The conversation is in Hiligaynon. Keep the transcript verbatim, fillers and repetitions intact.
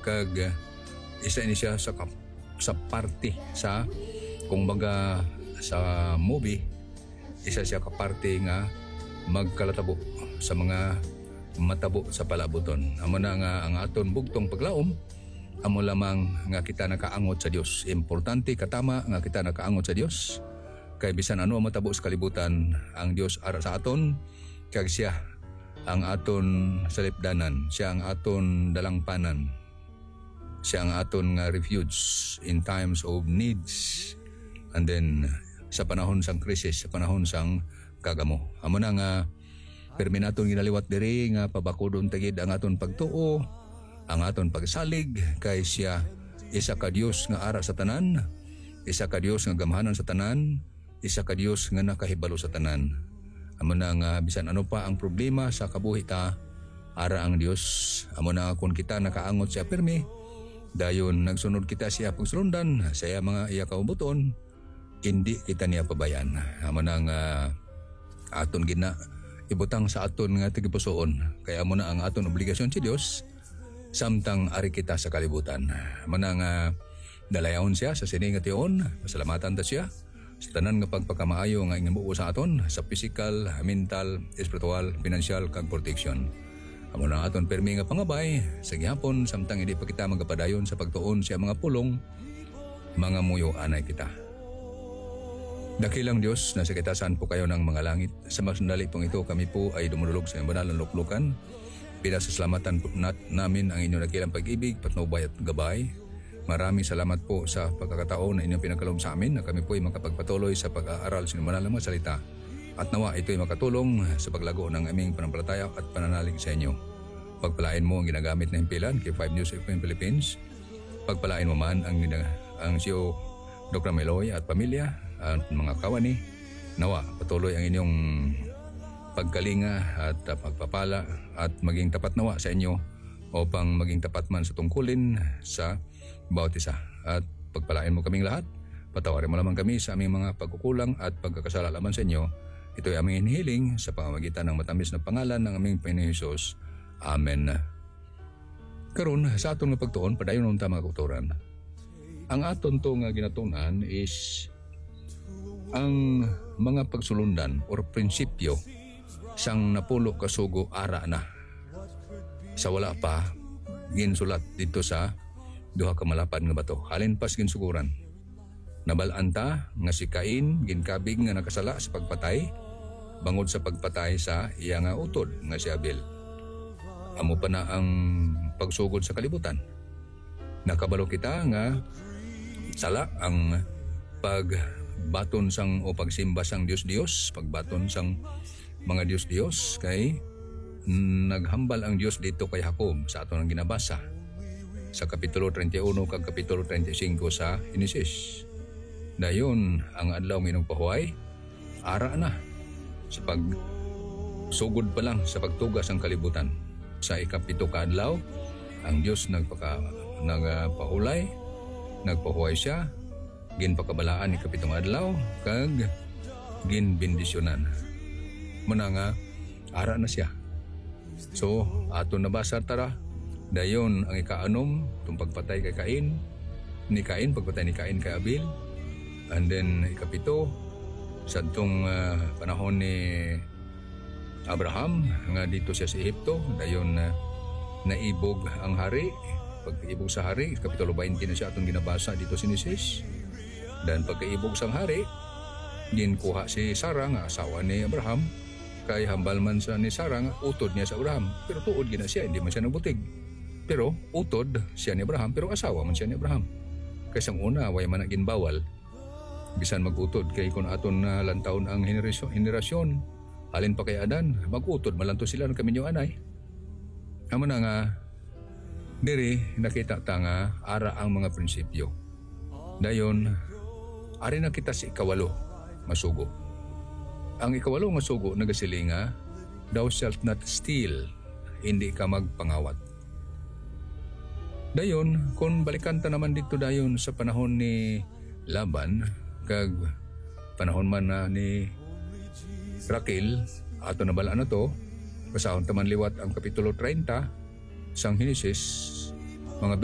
Kag, ah, isa ini siya sa kap-, sa parte sa, kung baga, sa movie, isa siya ka parte nga magkalatabo sa mga matabo sa palaabuton. Amo na nga ang aton bugtong paglaom, amo lamang nga kita nakaangot sa Dios. Importante, katama nga kita nakaangot sa Dios. Kay bisan ano ang matabo sa kalibutan, ang Dios ara sa aton, kag siya ang aton salipdanan, siya ang aton dalangpanan, siya ang aton nga refuge in times of needs, and then sa panahon sang krisis, sa panahon sang kagamo. Amo na nga pirmi naton ginaliwat diri nga pabakudon ta gid ang aton pagtuo, ang aton pagsalig, kay siya isa ka Dios nga ara sa tanan, isa ka Dios nga gamhanan sa tanan, isa ka Dios nga nakahibalo sa tanan. Amo na nga bisan ano pa ang problema sa kabuhi ta, ara ang Dios. Amo na nga kon kita nakaangot siya pirmi, dayon nagsunod kita siya pagsulundan sa iya mga iya kaubuton, hindi kita niya pabayan. Amo na nga aton gid na ibutang sa aton nga tagipusoon, kay amo na ang aton obligasyon si Dios, samtang ari kita sa kalibutan. Amo na nga dalayawon siya sa sini nga tion, pasalamatan ta siya sa tanan nga pagpakamaayo nga ginbuo sa aton, sa pisikal, mental, espiritual, pinansyal, kag proteksyon. Amo na aton pirmi nga pangabay sa gihapon, samtang hindi pa kita magapadayon sa pagtuon sa mga pulong, mga muyo anay kita. Dakilang Dios, nasa kitasan po kayo ng mga langit. Sa mas sandali pong ito, kami po ay dumudulog sa iyong banal na luklukan. Pinasasalamatan po nat-, namin ang inyong dakilang pag-ibig, patnubay at gabay. Maraming salamat po sa pagkakataon na inyong pinagkaloob sa amin na kami po ay makapagpatuloy sa pag-aaral sa inyong banal na mga salita. At nawa ito'y makatulong sa paglago ng aming pananampalataya at pananalig sa inyo. Pagpalain mo ang ginagamit na himpilan kay Five News F M Philippines. Pagpalain mo man ang, ang C E O, Doktor Meloy at pamilya at mga kawani. Nawa, patuloy ang inyong pagkalinga at, uh, pagpapala at maging tapat nawa sa inyo upang maging tapat man sa tungkulin sa bawat isa. At pagpalain mo kaming lahat. Patawarin mo lamang kami sa aming mga pagkukulang at pagkakasala laban sa inyo. Ito'y aming hinihiling sa pamamagitan ng matamis na pangalan ng aming Panginoon Jesus. Amen. Karon, sa aton nga pagtuon, padayon ta, mga kautoran. Ang aton to nga ginatunan is ang mga pagsulundan or prinsipyo sang napulo ka sugo ara na. Sa wala pa ginsulat dito sa duha ka malapad nga bato, halin pas ginsuguran. Nabal-an ta nga si Cain ginkabig nga nakasala sa pagpatay, bangod sa pagpatay sa iya nga utod nga si Abel. Amo pa na ang pagsugod sa kalibutan. Nakabalo kita nga sala ang pagbaton sang, o pagsimba sang dios-dios, pagbaton sang mga dios-dios, kay naghambal ang Dios dito kay Jacob sa aton ang ginabasa sa Kapitulo treinta y uno kag Kapitulo treinta y cinco sa Henesis. Dayon, ang adlaw nga inugpahuway, ara na sa pagsugod pa lang sa pagtuga sang kalibutan. Sa ikapito ka adlaw, ang Dios nagpaka-, nagpahulay, nagpahuway siya, ginpakabalaan ni kapitong adlaw, kag ginbendisyonan. Muna nga, ara na siya. So, aton nabasa tara. Dayon, ang ikaanom, itong pagpatay kay Cain, ni Cain, pagpatay ni Cain kay Abel. And then, ikapito, sa itong, ah, panahon ni Abraham, nga dito siya sa Ehipto, dayon, ah, naibog ang hari. Pagkaibog sa hari, Kapitulo twenty na siya atong ginabasa dito sa Henesis. Dan pagkaibog sang hari, ginkuha si Sarah nga asawa ni Abraham, kay hambal man sa ni Sarah nga utod niya sa Abraham. Pero tuod gina siya, hindi man siya nagbutig. Pero utod siya ni Abraham, pero asawa man siya ni Abraham. Kay sang una, way man na ginbawal. Bisan mag-utod, kay kun aton na lantawon ang henerasyon, henerasyon, halin pa kay Adan, mag-utod man lang to sila, nagkaminyo anay. Amo na nga, diri nakita ta nga ara ang mga prinsipyo. Dayon, ari na kita sa ikawalo nga sugo. Ang ikawalo nga sugo nagasiling nga, "Thou shalt not steal," hindi ka magpangawat. Dayon, kung balikan ta naman dito dayon sa panahon ni Laban, kag panahon man na ni Raquel, ato na bala na to, basahon ta man liwat ang Kapitulo treinta sang Henesis, mga